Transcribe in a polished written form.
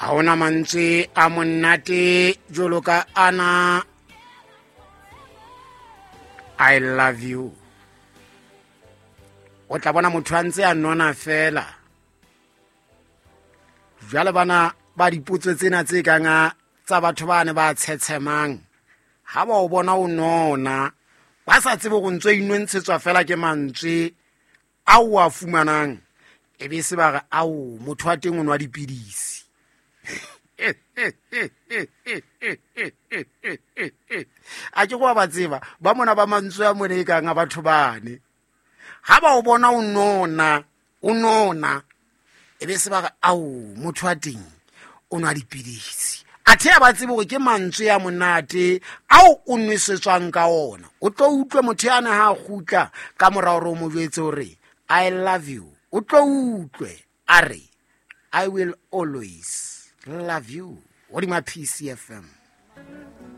Ha hona mantswe a monate jwalo ka ana, "I love you". O tla bona motho a ntse a nona fela. Jwale bana ba dipotso tsena tse kang tsa batho ba ne ba tshetshemang, ha ba o bona o nona, ba sa tsebe go ntse inontshetswa fela ke mantswe a o a fumanang, e be se ba re, "Ao, motho wa teng o nwa dipidisi." A ke go ba tseba ba mona ba mantswe a mone e kang a batho bane, ha ba o bona o nona, o nona, e be se ba re, "Ao, motho wa teng o nwa dipidisi." Athe a ba tsebe gore ke mantswe ya monate ao o nwesetswang ka ona. O tlo utlwe motho yana ha a kgutla ka mora gore o mo jwetse gore "I love you", o tlo utlwe a re, "I will always love you", godima PCFM.